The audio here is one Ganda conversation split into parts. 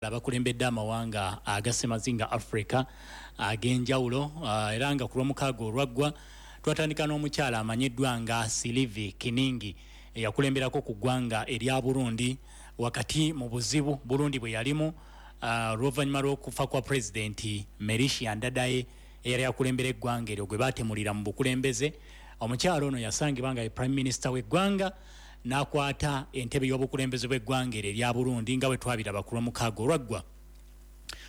Abakulembedde amawanga agasemazinga Africa ag'enjawulo, era nga ku Lwomukaaga olwaggwa twatandika n'omukyala amanyiddwa nga Silivi Kiningi, eyakulemberako ku ggwanga erya Burundi wakati mu buzibu Burundi bwe yalimu oluvannyuma lw'okufa kwa Pulezidenti Melchior Ndadaye, eyali akulembera eggwanga eryo, gwe baatemulira mu bukulembeze. Omukyala ono yasangibwa nga ye Prime Minister w'eggwanga, n'akwata entebe y'obukulembeze bw'eggwanga eryo erya Burundi, nga bwe twabiraba ku Lwomukaaga olwaggwa.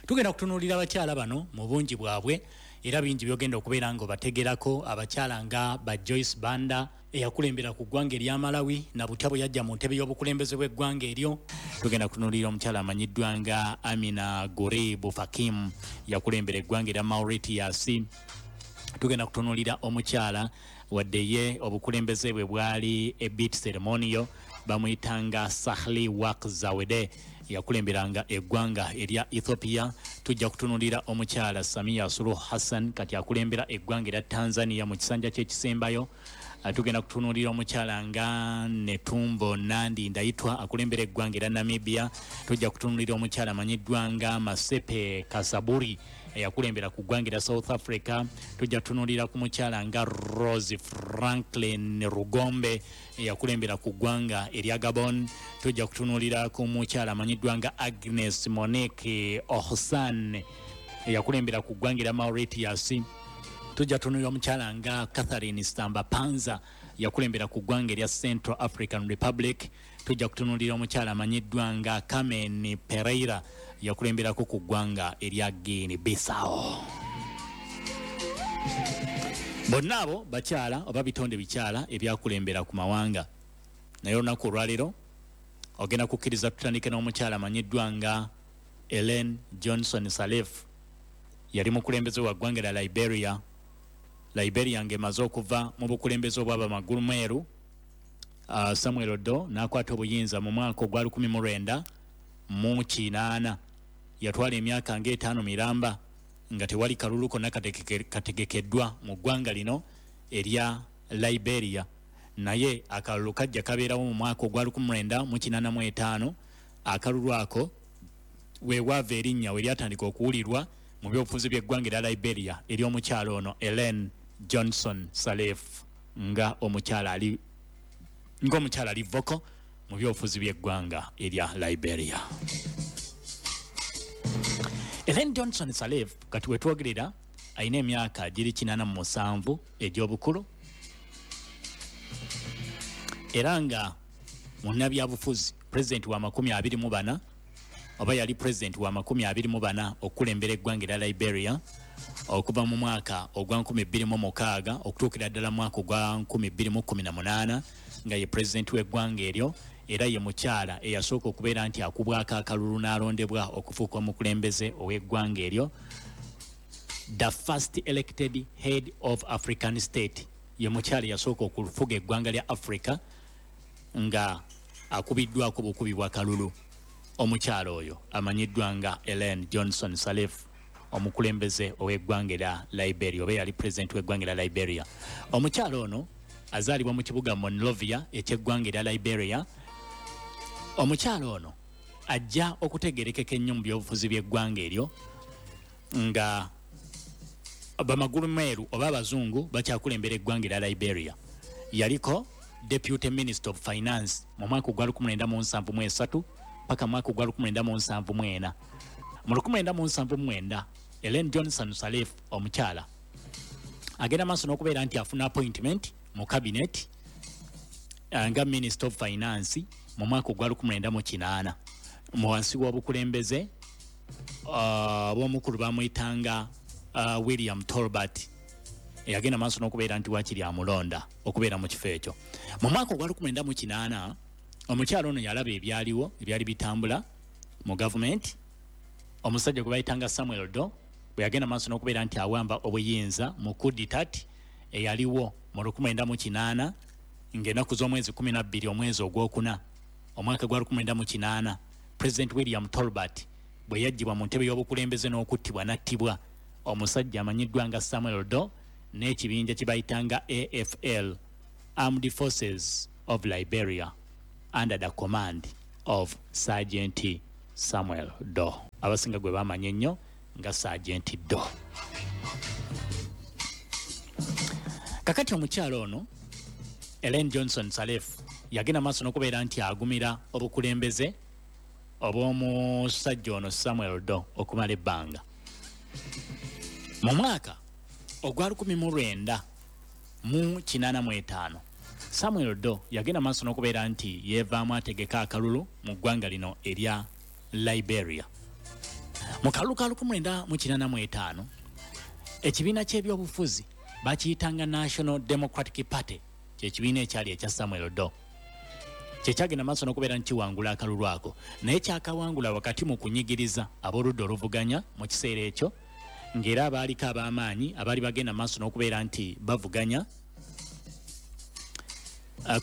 Tugenda kutunuulira abakyala bano mu bungi bwabwe, era bingi byogenda okubeera nga obategerako. Abakyala nga ba Joyce Banda, eyakulembera ku ggwanga erya Malawi, na butya bwe yajja mu ntebe y'obukulembeze bw'eggwanga eryo. Tugenda kutunuulira omukyala amanyiddwa nga Amina Gurib Fakim, yakulembera eggwanga erya Mauritius. Tugenda kutunuulira omukyala, wadde ye obukulembeze bwe bwali a bit ceremonial, bamuyitanga Sahle Work Zewde, yakulemberanga eggwanga erya Ethiopia. Tujja kutunulira omukyala Samia Suluhu Hassan, kati akulembera eggwanga erya Tanzania mu kisanja kyekisembayo. Tugenda kutunulira omukyala nga Netumbo Nandi Ndaitwa, akulembera eggwanga erya Namibia. Tujja kutunulira omukyala amanyiddwa nga Masepe Kasaburi, eyakulembera ku ggwanga erya South Africa. Tujja kutunulira ku mukyala nga Rose Franklin Rugombe, eyakulembera ku ggwanga erya Gabon. Tujja kutunulira ku mukyala amanyiddwa nga Agnes Monique Ohsan, eyakulembera ku ggwanga erya Mauritius. Tujja tunulira omukyala nga Catherine Samba Panza, yakulembera ku ggwanga erya Central African Republic. Tujja kutunulira omukyala amanyiddwa nga Carmen Pereira, yakulemberako ku ggwanga erya Guinea Bissau. Bonna abo bakyala oba bitonde bikyala ebyakulembera ku mawanga. Naye olunaku olwaleero ogenda kukkiriza tutandike n'omukyala amanyiddwa nga Ellen Johnson Sirleaf. Yali mukulembeze wa ggwanga lya Liberia. Liberia ng'emaze okuva mu bukulembeze obw'abamagulu meeru, Samuel Doe n'akwata obuyinza mu mwaka ogwa 1980. Yatwala emyaka ng'etaano miramba nga tewali kalulu konna kategekeddwa mu ggwanga lino erya Liberia, naye akalulu kajja kabeerawo mu mwaka ogwa 1985. Akalulu ako weewaava erinnya we lyatandika okuwulirwa mu byobufuzi by'eggwanga erya Liberia, ery'omukyala ono Ellen Johnson Sirleaf, nga omukyala ali vocal mu byobufuzi by'eggwanga erya Liberia. Ellen Johnson Sirleaf kati wetwogerera alina emyaka giri 87 egy'obukulu, era nga munnabyabufuzi, pulezidenti wa 24, oba yali pulezidenti wa 24 okukulembera eggwanga erya Liberia, okuva mu mwaka ogwa 2006 okutuukira ddala mu mwaka ogwa 2018, nga ye pulezidenti w'eggwanga eryo. Era ye mukyala eyasooka okubeera nti akubwako akalulu n'alondebwa okufuuka omukulembeze ow'eggwanga eryo, the first elected head of African state. Ye mukyala eyasooka okufuga eggwanga lya Africa nga akubiddwako bukubi bwa kalulu. Omukyala oyo amanyiddwa nga Ellen Johnson Sirleaf, omukulembeze ow'eggwanga erya Liberia, oba eyali pulezidenti w'eggwanga erya Liberia. Omukyala ono azaalibwa mu kibuga Monrovia ekyeggwanga erya Liberia. Omukyala ono ajja okutegerekeka ennyo mu byobufuzi by'eggwanga eryo nga bamagulu meeru oba abazungu bakyakulembera eggwanga erya Liberia. Yaliko Deputy Minister of Finance mu mwaka ogwa 1973 paka mwaka ogwa 1974. Mu 1979, Ellen Johnson Sirleaf omukyala agenda maaso n'okubeera nti afuna appointment mu cabinet nga Minister of Finance mu mwaka ogwa 1980, mu wansi w'obukulembeze bw'omukulu bamuyitanga William Tolbert, eyagenda maaso n'okubeera nti wakiri amulonda okubeera mu kifo ekyo. Mu mwaka ogwa 1980, omukyala ono yalaba ebyaliwo ebyali bitambula mu gavumenti, omusajja gwe bayitanga Samuel Doe bwe yagenda maaso n'okubeera nti awamba obuyinza mu coup d'état eyaliwo mu 1980, ng'ennaku z'omwezi 12, omwezi ogwokuna, omwaka gwa 1980, President William Tolbert bwe yaggyibwa mu ntebe y'obukulembeze n'okuttibwa, n'attibwa omusajja amanyiddwa nga Samuel Doe n'ekibinja kye bayitanga AFL, Armed Forces of Liberia, under the command of Sergeant Samuel Doe, abasinga gwe bamanya ennyo nga Sergeant Doe. Kakati omukyala ono Ellen Johnson Sirleaf yagenda maaso n'okubeera nti agumira obukulembeze obw'omusajja ono Samuel Doe okumala ebbanga. Mu mwaka ogwa 1985, Samuel Doe yagenda maaso n'okubeera nti yeevaamu ategeka akalulu mu ggwanga lino erya Liberia. Mu kalulu ka 1985, ekibiina ky'ebyobufuzi bakiyitanga National Democratic Party, kyekibiina ekyali ekya Samuel Doe, kyekyagenda maaso n'okubeera nti kiwangula akalulu ako, naye kyakawangula wakati mu kunyigiriza ab'oludda oluvuganya mu kiseera ekyo, ng'era abaaliko ab'amaanyi abaali bagenda maaso n'okubeera nti bavuganya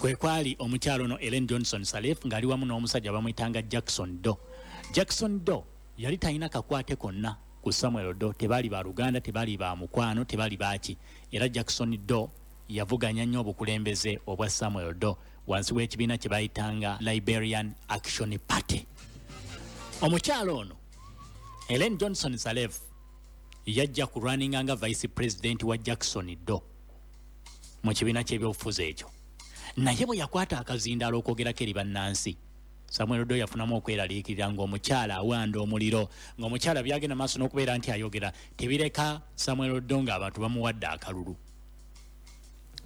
kwe kwali omukyalo ono Ellen Johnson Sirleaf ng'ali wamu n'omusajja bamuyitanga Jackson Doe. Jackson Doe yali talina kakwate konna ku Samuel Doe, tebaali ba luganda, tebaali ba mukwano, tebaali baaki. Era Jackson Doe yavuganya nnyo obukulembeze obwa Samuel Doe wansi w'ekibiina kye bayitanga Liberian Action Party. Omukyalo ono Ellen Johnson Sirleaf yajja kulwaninga nga vice president wa Jackson Doe mu kibiina ky'ebyobufuzi ekyo, naye bwe yakwata akazindaalo okwogerako eri bannansi, Samuel Doe yafunamu okweraliikirira ng'omukyala awanda omuliro, ng'omukyala byagenda maaso n'okubeera nti ayogera tebireka Samuel Doe ng'abantu bamuwadde akalulu.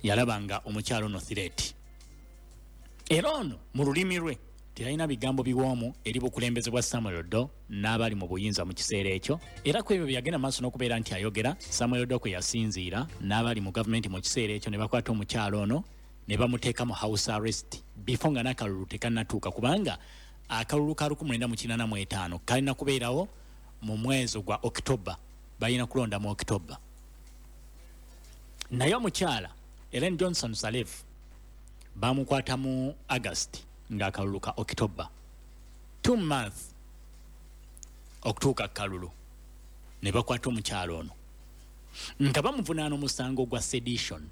Yalaba nga omukyala ono threat, era ono mu lulimi lwe teyalina bigambo biwoomu eri bukulembeze bwa Samuel Doe n'abali mu buyinza mu kiseera ekyo. Era ku ebyo bye yagenda maaso n'okubeera nti ayogera, Samuel Doe kwe yasinziira n'abali mu gavumenti mu kiseera ekyo ne bakwata omukyala ono ne bamuteeka mu house arrest before nga n'akalulu tekannatuuka, kubanga akalulu ka 1985 kalina kubeerawo mu mwezi gwa October, balina kulonda mu October. Naye omukyala Ellen Johnson Sirleaf bamukwata mu August ng'akalulu ka October, 2 months okutuuka kalulu, ne bakwata omukyala ono nga bamuvunaana omusango gwa sedition,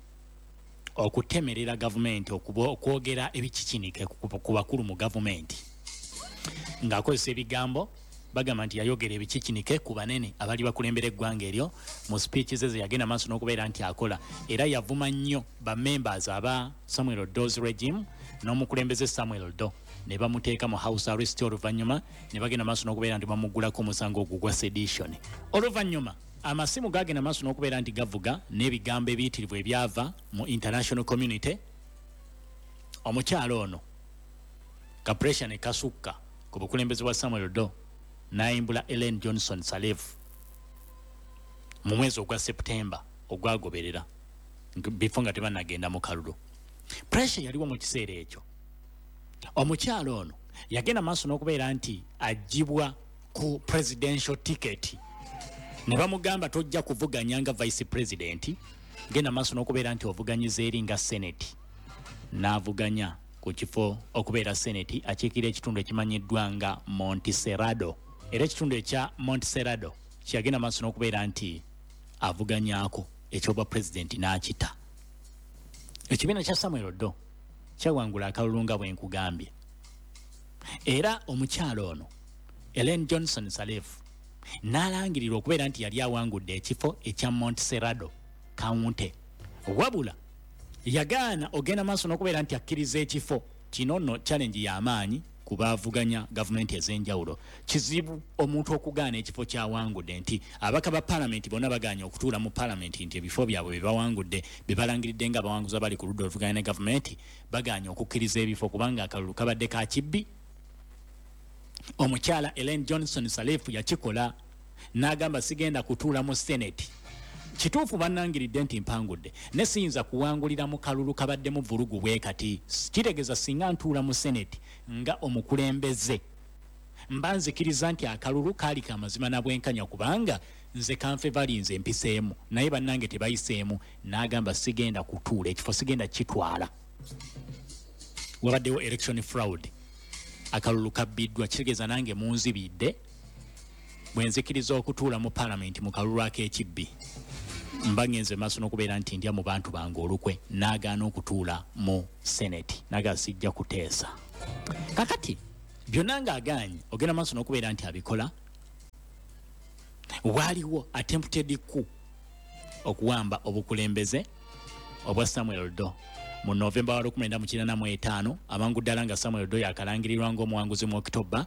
okutemerera gavumenti, okwogera ebikikinike ku bakulu mu gavumenti ng'akozesa ebigambo. Bagamba nti yayogera ebikikinike ku banene abali bakulembera eggwanga eryo mu speech ze yagenda maaso n'okubeera nti akola. Era yavuma nnyo ba members aba Samuel Doe's regime n'omukulembeze Samuel Doe, ne bamuteeka mu house arrest. Oluvannyuma ne bagenda maaso n'okubeera nti bamuggulako omusango ogwo gwa sedition. Oluvannyuma amasimu gagenda maaso n'okubeera nti gavuga n'ebigambo ebiyitirivu ebyava mu international community. Omukyala ono ka pressure ne kasukka ku bukulembeze bwa Samuel Doe, n'ayimbula Ellen Johnson Sirleaf mu mwezi ogwa September ogwagoberera, before nga tebannagenda mu kalulu. Pressure yaliwo mu kiseera ekyo. Omukyala ono yagenda maaso n'okubeera nti aggyibwa ku presidential ticket, ne bamugamba tojja kuvuganya nga vice president, genda maaso n'okubeera nti ovuganyiza eri nga senate. N'avuganya ku kifo okubeera senate akiikira ekitundu ekimanyiddwa nga Montserrado, era ekitundu ekya Montserrado kyeyagenda maaso n'okubeera nti avuganyaako ekyobwa president n'akita. Ekibiina kya Samuel Doe kyawangula akalulu nga bwe nkugambye, era omukyala ono Ellen Johnson Sirleaf n'alangirirwa okubeera nti yali awangudde ekifo ekya Montserrado County. Wabula yagaana ogenda maaso n'okubeera nti akkiriza ekifo kino. Nno challenge y'amaanyi ku baavuganya gavumenti ez'enjawulo. Kizibu omuntu okugaana ekifo kyawangudde, nti ababaka ba paalamenti bonna bagaanye okutuula mu paalamenti, nti ebifo byabwe bye bawangudde, bye balangiridde nga abawanguzi abali ku ludda oluvuganya ne gavumenti, bagaanye okukkiriza ebifo kubanga akalulu kabadde ka kibbi. Omukyala Ellen Johnson Sirleaf yakikola n'agamba, sigenda kutuula mu senate. Kituufu bannangiridde nti mpangudde, ne siyinza kuwangulira mu kalulu kabaddemu vulugu bwe kati. Kitegeeza singa ntuula mu senate nga omukulembeze, mba nzikiriza nti akalulu kaali ka mazima na bwenkanya, kubanga nze kanfe balinze mpiseemu, naye bannange tebayiseemu. N'agamba sigenda kutuula, ekifo sigenda kitwala, wabaddewo election fraud, akalulu kabbiddwa, kitegeeza nange munzibidde. Bwe nzikiriza okutuula mu paalamenti mu kalulu ak'ekibbi, mba ngenze maaso n'okubeera nti ndya mu bantu bange olukwe. N'agaana okutuula mu senate, naga sijja kuteesa. Kakati Byonna ng'agaanye ogenda maaso n'okubeera nti abikola. Waaliwo attempted coup okuwamba obukulembeze obwa Samuel Doe mu Novemba wa 1985, amangu ddala nga Samuel Doe yakalangirirwa ng'omuwanguzi mu Okitoba,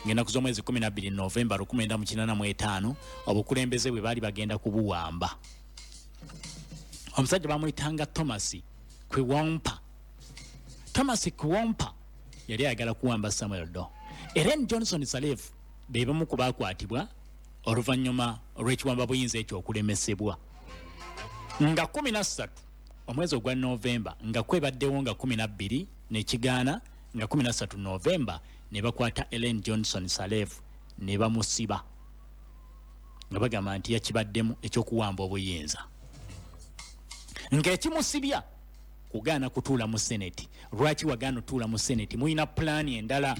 ng'ennaku z'omwezi 12 Novemba 1985, obukulembeze bwe baali bagenda kubuwamba. Omusajja bamuyitanga Thomas Quiwompa. Thomas Quiwompa yali ayagala kuwamba Samuel Doe. Ellen Johnson Sirleaf be bamu ku baakwatibwa oluvannyuma olw'ekiwamba buyinza ekyo okulemesebwa. Nga 13 omwezi ogwa Novemba, nga kwebaddewo nga 12 nekigaana, nga 13 Novemba ne bakwata Ellen Johnson Sirleaf ne bamusiba nga bagamba nti yakibaddemu ekyokuwamba obuyinza, ng'ekimusibya kugaana kutuula mu Senate. Lwaki wagaana otuula mu Senate? Mulina pulaani endala,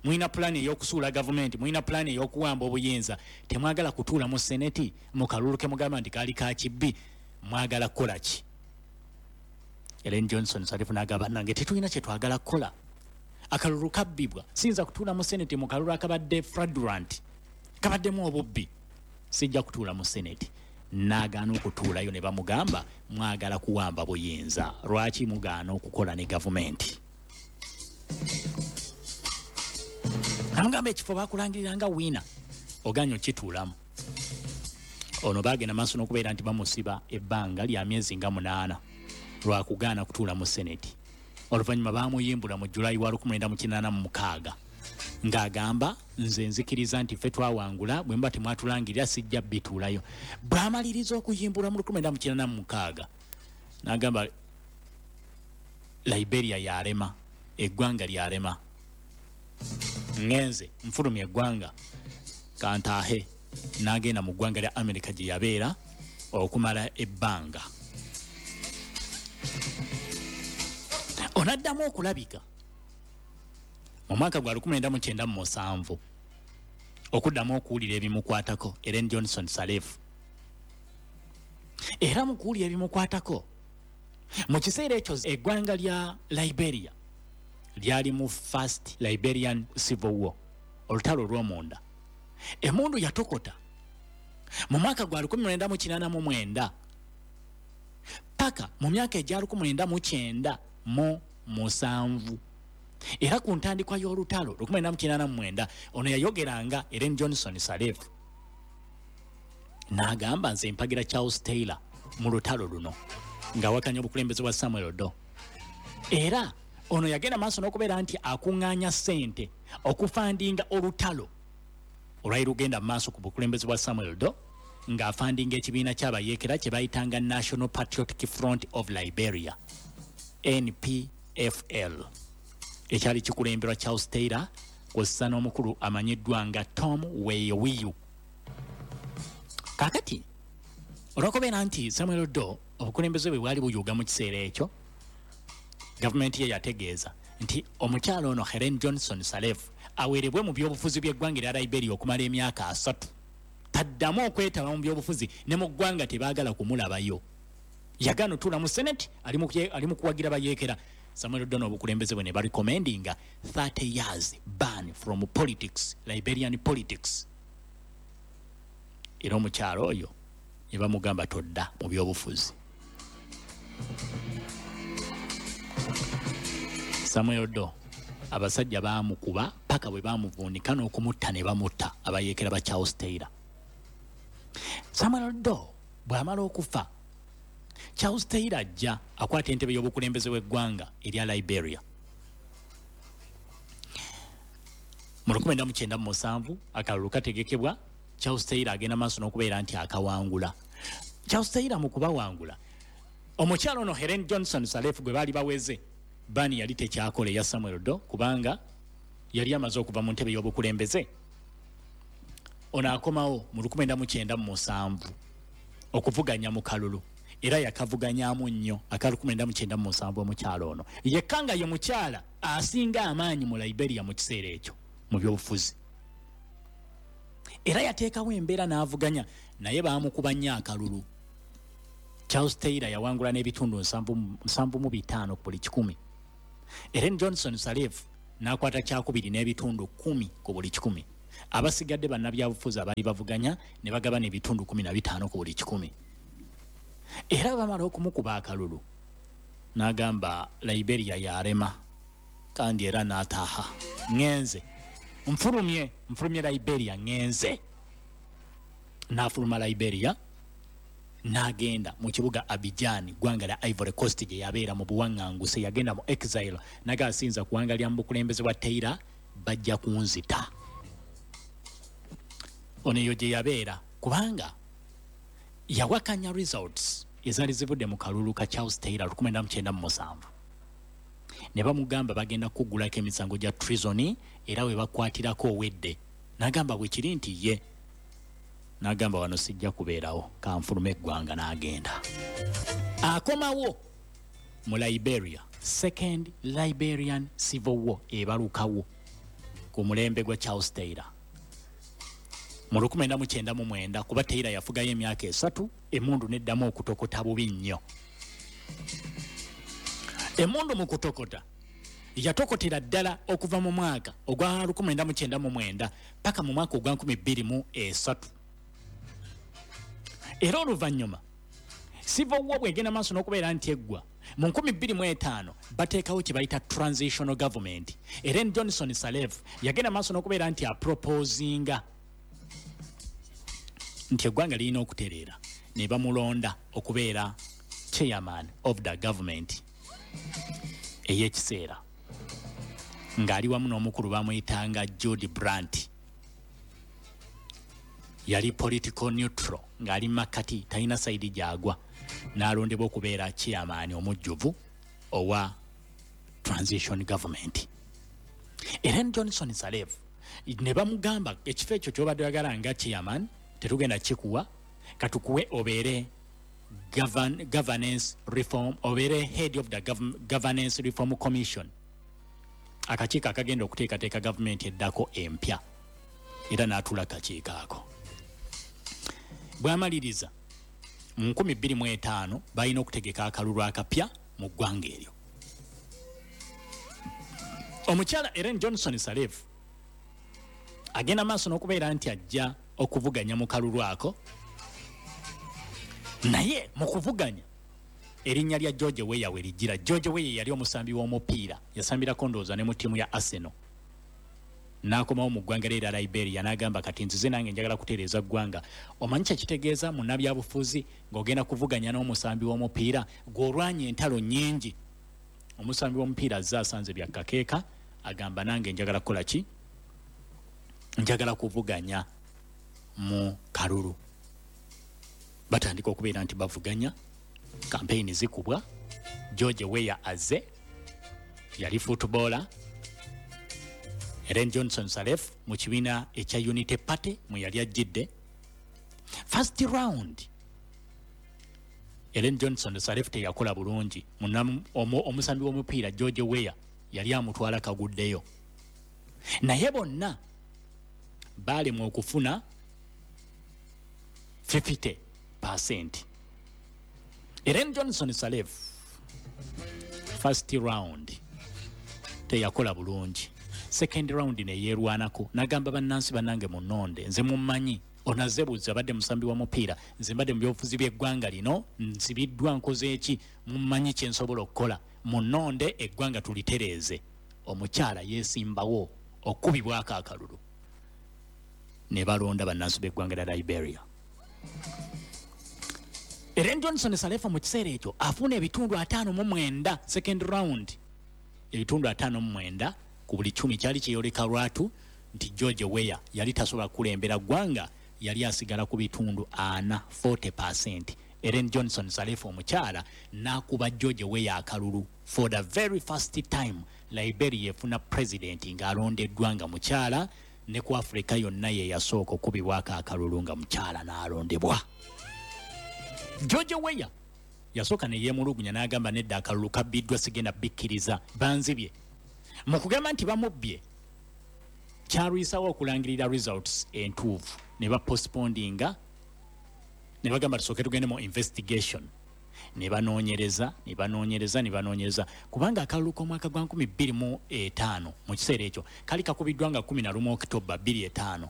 mulina pulaani ey'okusuula gavumenti, mulina pulaani ey'okuwamba obuyinza, temwagala kutuula mu Senate mu kalulu ke mugamba nti kaali ka kibbi, mwagala kukola ki? Ellen Johnson Sirleaf n'agamba, nange tetulina kye twagala kukola, akalulu kabbibwa, siyinza kutuula mu Senate mu kalulu akabadde fraudulent, kabaddemu obubbi, sijja kutuula mu Senate. N'agaana okutuulayo ne bamugamba mwagala kuwamba buyinza, lwaki mugaana okukola ne gavumenti? Amugamba ekifo bakulangirira nga wiina, ogaanye okituulamu. Ono bagenda maaso n'okubeera nti bamusiba ebbanga lya myezi nga 8 lwakugaana kutuula mu Senate. Oluvannyuma bamuyimbula mu Julayi wa 1986 ng'agamba nze nzikiriza nti ffe twawangula, bwe muba temwatulangirira sijja bituulayo. Bw'amaliriza okuyimbulwa mu 1986 n'agamba Liberia yalema, eggwanga lyalema, ngenze nfulumya eggwanga kantaahe. N'agenda mu ggwanga lya America gye yabeera okumala ebbanga. Onaddamu okulabika mu mwaka gwa 1997 okuddamu okuwulira ebimukwatako Ellen Johnson Sirleaf. Era mu kuwulira ebimukwatako mu kiseera ekyo eggwanga lya Liberia lyali mu First Liberian Civil War, olutalo olw'omunda. Emmundu yatokota mu mwaka gwa 1989 paka mu myaka egya 1997. Era ku ntandikwa y'olutalo 1989 ono yayogeranga Ellen Johnson Sirleaf n'agamba nze mpagira Charles Taylor mu lutalo luno, ng'awakanya obukulembeze bwa Samuel Doe. Era ono yagenda maaso n'okubeera nti akuŋŋaanya ssente okufandinga olutalo olwali lugenda mu maaso ku bukulembeze bwa Samuel Doe, ng'afandinga ekibiina ky'abayeekera kye bayitanga National Patriotic Front of Liberia, NPFL, ekyali kikulemberwa Charles Taylor kw'ossa n'omukulu amanyiddwa nga Tom Weyowiyu. Kaakati olw'okubeera nti Samuel Doe obukulembeze bwe bwali buyuuga mu kiseera ekyo, gavumenti ye yategeeza nti omukyala ono Helen Johnson Sirleaf aweerebwe mu byobufuzi by'eggwanga erya Liberia okumala emyaka 3, taddamu okwetaba mu byobufuzi, ne mu ggwanga tebaagala kumulabayo. Yagaana otuula mu Senate, ali mu kuwagira bayeekera. Samuel Doe obukulembeze bwe ne barecommendinga 30 years ban from politics, Liberian politics. Era omukyala oyo ne bamugamba todda mu byobufuzi. Samuel Doe abasajja baamukuba paka bwe baamuvuunika n'okumutta ne bamutta abayeekera ba Charles Taylor. Samuel Doe bw'amala okufa, Charles Taylor ajja akwata entebe y'obukulembeze bw'eggwanga erya Liberia. Mu 1997 akalulu kategekebwa, Charles Taylor agenda maaso n'okubeera nti akawangula. Charles Taylor mu kubawangula, omukyala ono Helen Johnson Sirleaf gwe baali baweze bani yali tekyakola eya Samuel Doe, kubanga yali amaze okuva mu ntebe y'obukulembeze. Ono akomawo mu 1997 okuvuganya mu kalulu, era yakavuganyaamu nnyo aka 1997. Omukyala ono yekka nga ye mukyala asinga amaanyi mu Liberia mu kiseera ekyo mu byobufuzi, era yateekawo embeera n'avuganya, naye baamukuba nnyo akalulu. Charles Taylor yawangula n'ebitundu 75 ku buli 100. Ellen Johnson Sirleaf N'akwata kyakubiri n'ebitundu 10 ku buli 100. Abasigadde bannabyabufuzi abaali bavuganya ne bagabana ebitundu 15 ku buli 100. Era bamala okumukuba akalulu n'agamba Liberia yarema, kandi era n'ataaha, ŋŋenze nfulumye Liberia, ŋŋenze. N'afuluma Liberia n'agenda mu kibuga Abidjan, ggwanga lya Ivory Coast gye yabeera mu buwaŋŋanguse. Yagenda mu exile, naga asinza kuwangalira mu bukulembeze bwa Taylor, bajja kunzita. Ono eyo gye yabeera kubanga yawakanya results ezaali zivudde mu kalulu ka Charles Taylor 1997. Ne bamugamba bagenda kuggulako emisango gya treason era we bakwatirako owedde. N'agamba bwe kiri nti ye. N'agamba wano sijja kubeerawo, kanfulume eggwanga, n'agenda. Akomawo mu Liberia, Second Liberian Civil War ebalukawo ku mulembe gwa Charles Taylor mu 1999, kuba Taylor yafugayo emyaka 3, emmundu neddamu okutokota bubi nnyo. Emmundu mu kutokota yatokotera ddala okuva mu mwaka ogwa 1999 paka mu mwaka ogwa 2003. Era oluvannyuma Civil War bw'egenda maaso n'okubeera nti eggwa mu 2005, bateekawo kye bayita transitional government. Ellen Johnson Sirleaf yagenda maaso n'okubeera nti aproposinga nti eggwanga lirina okutereera, ne bamulonda okubeera chairman of the government ey'ekiseera, ng'ali wamu n'omukulu bamuyitanga Jude Brandt. Yali political neutral, ng'ali makkati, talina side gy'agwa, n'alondebwa okubeera chairman omujjuvu owa transition government. Ellen Johnson Sirleaf ne bamugamba ekifo ekyo ky'obadde oyagala nga chairman tetugenda kikuwa, katukuwe obeere governance reform, obeere head of the governance reform commission, akakiiko akagenda okuteekateeka gavumenti eddako empya. Era n'atuula kakiiko ako. Bw'amaliriza mu 2005, balina okutegeka akalulu akapya mu ggwanga eryo. Omukyala Ellen Johnson Sirleaf agenda maaso n'okubeera nti ajja okuvuganya mu kalulu ako, naye mu kuvuganya erinnya lya George Weah we lijjira. George Weah yali omusambi w'omupiira, yasambirako ndowooza ne mu ttiimu ya Arsenal. N'akomawo mu ggwanga lye erya Liberia n'agamba kati nzize nange njagala kutereeza ggwanga. Omanyi kye kitegeeza munnabyabufuzi ng'ogenda kuvuganya n'omusambi w'omupiira gw'olwanya entalo nnyingi? Omusambi w'omupiira azze asanze bya kakeeka, agamba nange njagala kukola ki? Njagala kuvuganya mu kalulu. Batandika okubeera nti bavuganya, kampeyini zikubwa. George Weah azze, yali footballer. Ellen Johnson Sirleaf mu kibiina ekya Unity Party mwe yali ajjidde. First round Ellen Johnson Sirleaf teyakola bulungi. Omusambi w'omupiira George Weah yali amutwala kaguddeyo, naye bonna baalemwa okufuna 50%. Ellen Johnson Sirleaf first round teyakola bulungi. Second round neyeerwanako n'agamba bannansi, bannange munnonde, nze mummanyi, onaze buzi abadde musambi wa mupiira, nze mbadde mu byobufuzi by'eggwanga lino, nsibiddwa, nkoze eki, mummanyi kye nsobola okukola, munnonde eggwanga tulitereeze. Omukyala yeesimbawo okukubibwako akalulu ne balonda bannansi b'eggwanga lya Liberia. Ellen Johnson Sirleaf mu kiseera ekyo afuna ebitundu 59. Second round ebitundu 59 ku buli 100. Kyali kyeyoleka lwatu nti George Weah yali tasobola kukulembera ggwanga, yali asigala ku bitundu 40, 40%. Ellen Johnson Sirleaf omukyala n'akuba George Weah akalulu. For the very first time Liberia efuna president ng'alondeddwa nga mukyala, ne ku Africa yonna ye yasooka okubibwako akalulu nga mukyala n'alondebwa. George Weah yasooka ne yeemulugunya n'agamba nedda, akalulu kabbiddwa, sigenda bikkiriza, banzibye. Mu kugamba nti bamubbye, kyalwisawo okulangirira results entuufu, ne bapostpondinga ne bagamba tusooke tugende mu investigation. Ne banoonyereza, ne banoonyereza, ne banoonyereza, kubanga akalulu k'omwaka gwa 2005 mu kiseera ekyo kali kakubiddwa nga 11 Okitoba 2005.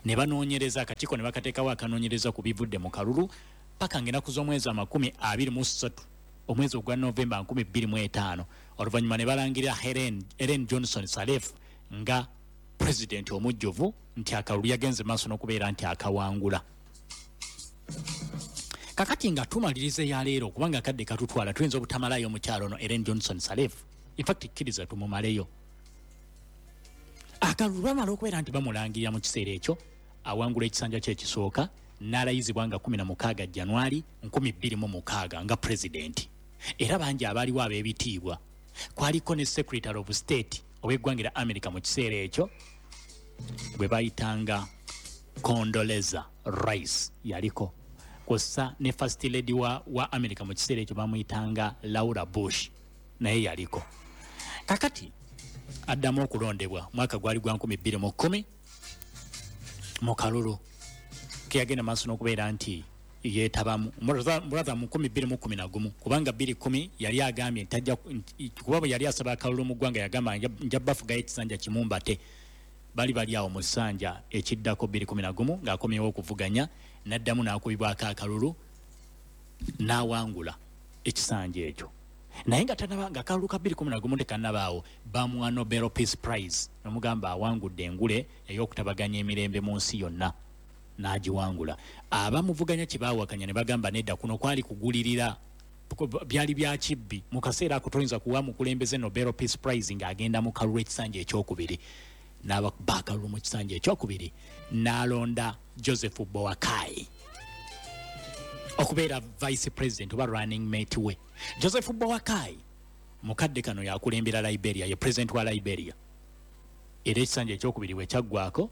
Ne banoonyereza, akakiiko ne bakateekawo akanoonyereza ku bivudde mu kalulu paka ng'ennaku z'omwezi 23 omwezi ogwa Novemba 2005. Oluvannyuma ne balangirira Ellen Johnson Sirleaf nga pulezidenti omujjuvu, nti akalulu yagenze maaso n'okubeera nti akawangula. Kakati nga tumaliriza eya leero, kubanga akadde katutwala, tuyinza obutamalayo omukyalo ono Ellen Johnson Sirleaf. In fact, kkiriza tumumaleyo. Akalulu bamala okubeera nti bamulangirira mu kiseera ekyo, awangula ekisanja kye ekisooka, n'alayizibwa nga 16 Januari 2006 nga pulezidenti. Era bangi abaaliwo ab'ebitiibwa, kwaliko ne Secretary of State ow'eggwanga lya America mu kiseera ekyo bwe bayitanga Condoleezza Rice yaliko, kw'ossa ne First Lady wa America mu kiseera ekyo bamuyitanga Laura Bush, naye yaliko. Kakati addamu okulondebwa mwaka gwali gwa 2010 mu kalulu ke yagenda maaso n'okubeera nti yeetabamu brother mu 2011, kubanga 2010 yali agambye nti tajja kuba bwe yali asaba akalulu mu ggwanga yagamba nja bafugayo ekisanja kimu mbate. Bali bali awo mu ssanja ekiddako 2011 ng'akomyewo okuvuganya, n'addamu n'akubibwako akalulu n'awangula ekisanja ekyo. Naye nga tanaba, nga akalulu ka 2011 tekannabaawo, bamuwa Nobel Peace Prize, nomugamba awangudde engule ey'okutabaganya emirembe mu nsi yonna, n'agiwangula. Abamuvuganya kye baawakanya ne bagamba nedda, kuno kwali kugulirira, byali bya kibbi. Mu kaseera ako toyinza kuwa mukulembeze Nobel Peace Prize ng'agenda mu kalulu ekisanja ekyokubiri. N'abakuba akalulu mu kisanja ekyokubiri, n'alonda Joseph Boakai okubeera vice president oba running mate we. Joseph Boakai mukadde kano yakulembera Liberia, ye president wa Liberia. Era ekisanja ekyokubiri bwe kyaggwako,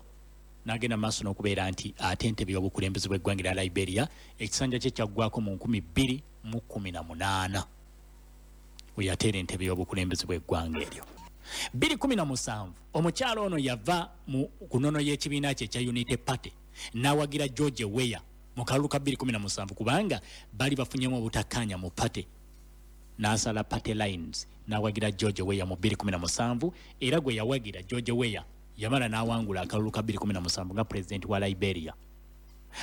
n'agenda maaso n'okubeera nti ate entebe y'obukulembeze bw'eggwanga lya Liberia. Ekisanja kye kyaggwako mu 2018 we yateera entebe y'obukulembeze bw'eggwanga eryo. 2017 omukyalo ono yava mu ku nnono y'ekibiina kye ekya Unity Party n'awagira George Weah mu kalulu ka 2017, kubanga bali bafunyemu obutakkaanya mu party, n'asala party lines n'awagira George Weah mu 2017. Era gwe yawagira, George Weah, yamala n'awangula akalulu ka 2017 nga pulezidenti wa Liberia.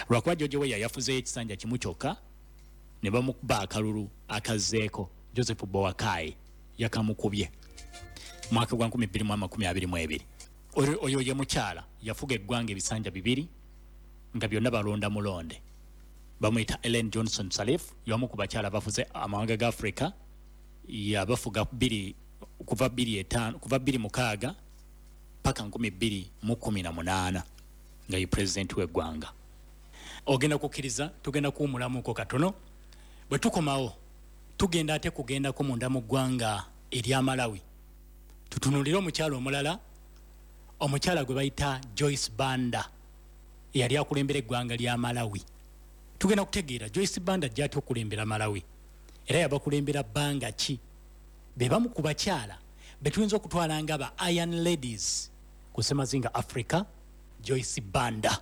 Lwakuba George Weah yafuzeeyo ekisanja kimu kyokka ne bamukuba akalulu akazzeeko, Joseph Boakai yakamukubye mwaka gwa 2022. Oyo ye mukyala yafuga eggwanga ebisanja bibiri nga byonna balonda mulonde. Bamuyita Ellen Johnson Sirleaf, y'omu ku bakyala bafuze amawanga ga Africa. Yabafuga bbiri, kuva 2005, kuva 2006 paka 2018 nga ye pulezidenti w'eggwanga. Ogenda kukkiriza tugenda kuwumulamuko katono. Bwe tukomawo tugenda ate kugendako munda mu ggwanga erya Malawi, tutunuulire omukyala omulala, omukyala gwe bayita Joyce Banda, eyali akulembera eggwanga lya Malawi. Tugenda kutegeera Joyce Banda gy'atya okulembera Malawi, era yabakulembera bbanga ki. Be bamu ku bakyala be tuyinza okutwala nga ba Iron Ladies ku Semazinga Africa. Joyce Banda,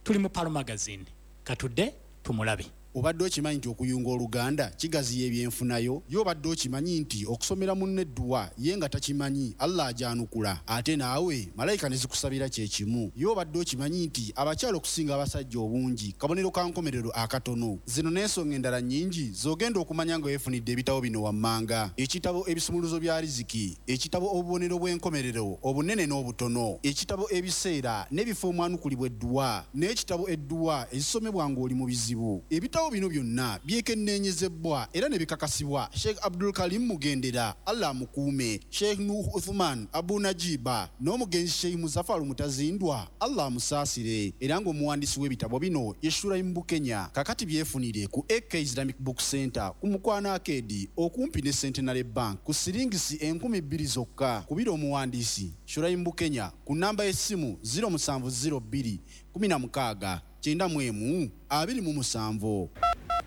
tuli mu Palo Magazine, katudde tumulabe. Obadde okimanyi nti okuyunga oluganda kigaziya ebyenfunayo? Ye obadde okimanyi nti okusomera munno edduwa ye nga takimanyi, Allah agyanukula ate naawe malayika ne zikusabira kye kimu? Ye obadde okimanyi nti abakyala okusinga abasajja obungi kabonero ka nkomerero akatono? Zino n'ensonga endala nnyingi z'ogenda okumanya nga weefunidde ebitabo bino wammanga: ekitabo Ebisumuluzo bya Riziki, ekitabo Obubonero bw'Enkomerero Obunene n'Obutono, ekitabo Ebiseera n'Ebifo Omwanukulibwa Edduwa, n'ekitabo Edduwa Ezisomebwa Ng'oli mu Bizibu. Ebitabo bino byonna byekenneenyezebbwa era ne bikakasibwa Sheikh Abdul Karim Mugendera, Allah amukuume, Sheikh Nuh Uthman Abu Najiba n'omugenzi Sheikh Muzafaru Mutazindwa, Allah amusaasire, era ng'omuwandiisi w'ebitabo bino ye Shuraim Bukenya. Kakati byefunire ku AK Islamic Book Center ku Mukwano Arcade okumpi ne Centenary Bank ku siringisi 2000 zokka. Kubira omuwandiisi Shuraim Bukenya ku nnamba y'essimu 0702 16 91 27.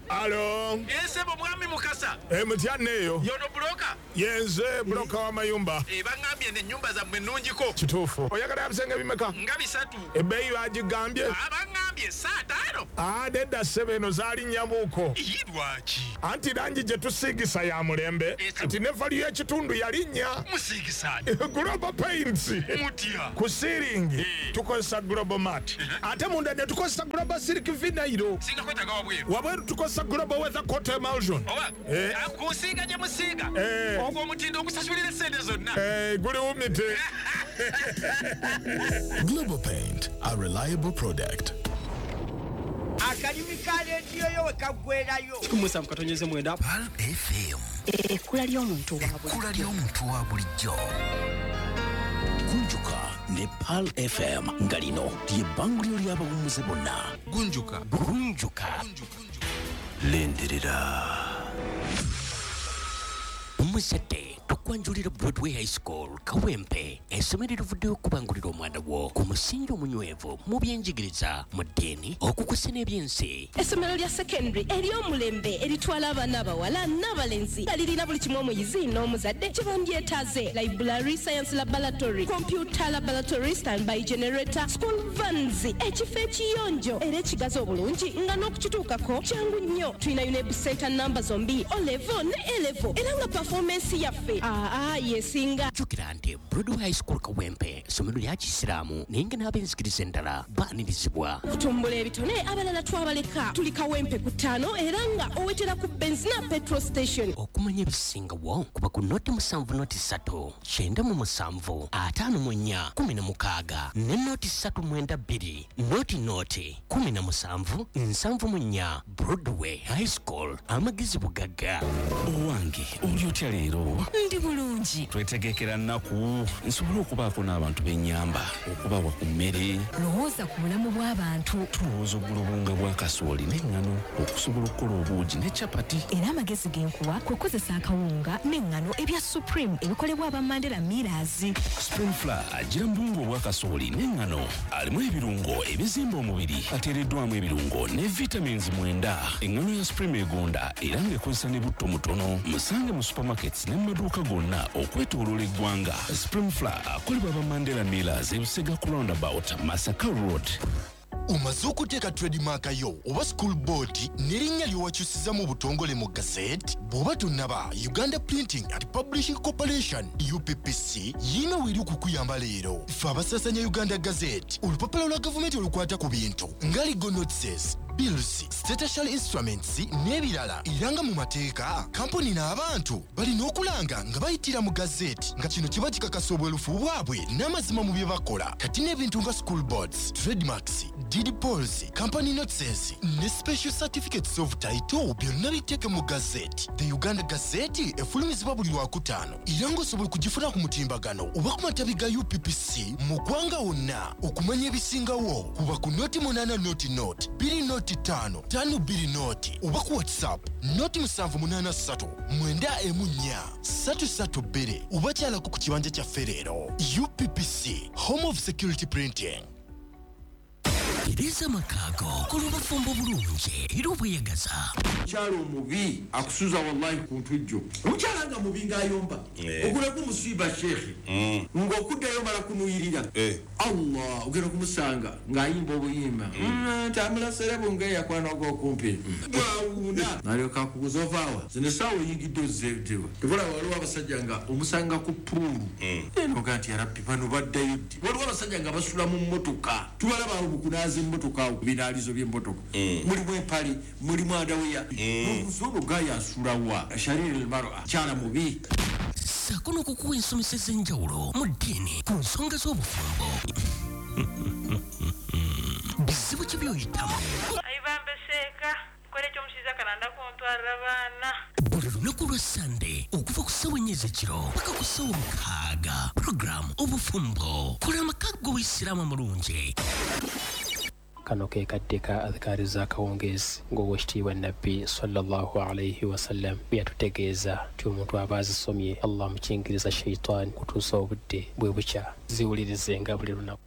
Alo. Esebo mwami Mukasa. Mutya neeyo. Yono broker. Yenze broker w'amayumba. Bangambye n'ennyumba zammwe nnungiko. Kituufu. Oyagala bisenge bimeka? Nga 3. Ebbeeyi bagigambye? Bangambye 5. Wano. Nedda ssebo, eno zaalinnyamuuko. Lwaki? Anti langi gye tusiigisa ya mulembe, kati ne value y'ekitundu yalinnya. Musiigisaani? Global Paints. Mutya? Ku ceiling tukozesa Global Mat, ate munda ne tukozesa Global Silk Vinyl. Singa kwetaaga wabweru? Wabweru tukozesa Global Weather Coat Emulsion. Oba kusiiga gye musiiga, ogwo omutindo ogusasulira essente zonna. Guli wumite. Global Paint, a reliable product. Akalimi ka rediyo yo we kaggwerayo. 7.9 Pearl FM. Ekkula ly'omuntu wa Ekkula ly'omuntu wa bulijjo. Gunjuka ne Pearl FM, nga lino ly'ebbanguliro ly'abawummuze bonna. Gunjuka. Gunjuka. Lindirira. Omuzadde, tukwanjulira Broadway High School Kawempe, essomero erivuddeyo okubangulira omwana wo ku musingi omunywevu mu byenjigiriza, mu ddiini, okukusa n'ebyensi. Essomero lya secondary ery'omulembe eritwala abaana abawala n'abalenzi, nga lirina buli kimu omuyizi n'omuzadde kye bandyetaaze: library, science laboratory, computer laboratory, standby generator, school vans, ekifo ekiyonjo era ekigazi obulungi nga n'okukituukako kyangu nnyo. Tulina UNEB center namba zombi, O level ne A level, era nga performance yaffe aa yesinga. Jjukira nti Broadway High School Kawempe essomero lya kisiraamu, naye nga n'ab'enzikiriza endala baanirizibwa. Kutumbula ebitone, abalala twabaleka. Tuli Kawempe ku 5 era nga owetera ku Benzina petrol station. Okumanya ebisingawo kuba ku 070 397 54 16 ne 039 2 00 17 74. Broadway High School, amagezi bugagga. Owange, oli otya leero? Ndi bulungi. Twetegekera nnaku nsobole okubaako n'abantu b'ennyamba, okubawa ku mmere. Lowooza ku bulamu bw'abantu. Tulowooza ogula obuwunga bwa kasooli n'eŋŋano okusobola okukola obuugi ne capati. Era amagezi genkuwa kukozesa akawunga n'eŋŋano ebya Supreme ebikolebwa aba Mandela Millers. Supreme Flour agira mu buwunga obwa kasooli n'eŋŋano, alimu ebirungo ebizimba omubiri, ateereddwamu ebirungo ne vitamins 9. Eŋŋano ya Supreme egonda era ng'ekozesa ne butto mutono. Musange mu supermarkets ne mu maduuka gonna okwetooloola eggwanga. Supreme Flour akolebwa aba Mandela Millers, ebusega ku roundabout, Masaka Road. Omaze okuteeka trademark yo oba school board n'erinnya ly'owakyusiza mu butongole mu gazette? Bw'oba tonnaba, Uganda Printing and Publishing Corporation, UPPC, yiina weeri okukuyamba leero. Ffe abasaasanya Uganda Gazette, olupapula lwa gavumenti olukwata ku bintu nga legal notices, bills, statutory instruments n'ebirala, era nga mu mateeka kampuni n'abantu balina okulanga nga bayitira mu gazette, nga kino kiba kikakasa obwerufu bwabwe n'amazima mu bye bakola. Kati n'ebintu nga school boards, trademarks, deed polls, company notices ne special certificates of title byonna biteeke mu gazette. The Uganda Gazette efulumizibwa buli Lwakutaano, era ng'osobola okugifuna ku mutimbagano oba ku matabi ga UPPC mu ggwanga wonna. Okumanya ebisingawo kuba ku 080 0 2 05 52 0 oba ku WhatsApp 078 914 332 oba kyalako ku kibanja kyaffe leero. UPPC, home of security printing. Tereza amakago kola obufumbo bulungi era obweyagaza. Omukyala omubi akusuza wallahi ku ntujjo. Omukyala nga mubi ng'ayomba, ogulako omusiiba sheekhe, ng'okuddayo mala kunuyirira. Allah, ogenda okumusanga ng'ayimba obuyimba ntamulasere bunga eyakwana ogw'okumpi bwawuuna, nalyoka akubuza ovaawa zino essaawa oyingidde ozzeewa. Tebula waliwo abasajja nga omusanga ku puulu enoga nti yarabbi bano baddayo ddi. Waliwo abasajja nga basula mu mmotoka, tubalaba awo mukunaaza emmotoka awo ku binaalizo by'emmotoka, mulimu empale, mulimu adaweya. Ono gaaya asulawa shariri almar'a, kyala mubi. Ssaako n'okukuwa ensomesa ez'enjawulo mu ddiini ku nsonga z'obufumbo. Bizibu ki by'oyitamu? Ayibambe seeka kola ekyomushiza kalanda kuntwalira baana. Buli lunaku lwa Sande okuva ku ssaawa 4 ez'ekiro paka ku ssaawa 6, puroguramu Obufumbo, kola amaka g'Obuyisiraamu amulungi. Kano ke kadde ka adhikaari z'akawungeezi ng'owekitiibwa Nabbi sallallahu alaihi wasallam bwe yatutegeeza nti omuntu aba azisomye Allah amukingiriza shaitaani kutuusa obudde bwe bukya. Ziwulirizenga buli lunaku.